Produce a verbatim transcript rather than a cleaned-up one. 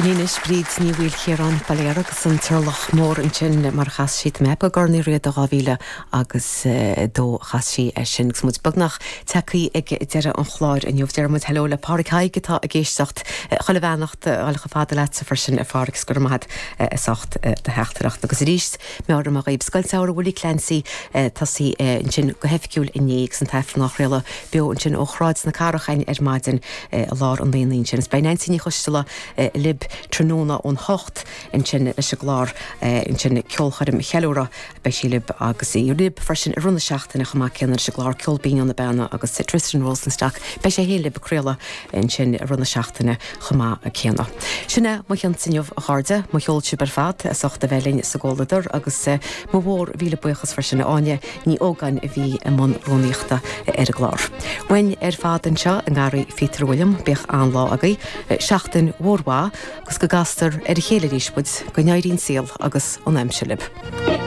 Sin anois Bríd Ní Mhaoilchiaráin Baile agus an Turlach Mór ansin mar chas sí me go Corn Uí Riada dhá mhíle agus dó chas sí é sin agus muid beagnach tagtha ag deireadh an chláir inniu deir muid hello le Pádraig Haig atá ag éisteacht chuile bheannacht chuile fada leat freisin a Phádraig go raibh maith agat as ucht do theachtaireacht agus arís meabhraím dhaoibh Scoil Samhraidh Willie Clancy tosaithe ansin go hoifigiúil inné agus an t-aifreann á chraoladh beo ansin ó Shráid na Cathrach ar maidin i lár an aonaigh sin. Is beidh Nancy Ní Choisteala libh tráthnóna ón hocht ansin leis an gclár ansin ceolchoirm cheiliúradh beidh sí libh agus í libh freisin i rith na seachtaine chomh maith céanna leis an gclár Ceol Binn na Beanna agus Tristan Rosenstock beidh sé féin libh ag craoladh ansin i rith na seachtaine chomh maith céanna. Sin é mo chionn inniu a chairde mo cheol sibh ar fad as ucht a bheith linn sa gcomhluadar agus mo mhór mhíle buíochas freisin Áine Ní Ógáin a bhí i mbun rúnaíochta ar an gclár. Uainn ar fad anseo i nGarraí Phíotair William bíodh an-lá agaibh, seachtain mhór mhaith agus go gcastar ar a chéile arís muid go n-éirí an saol agus an aimsir libh.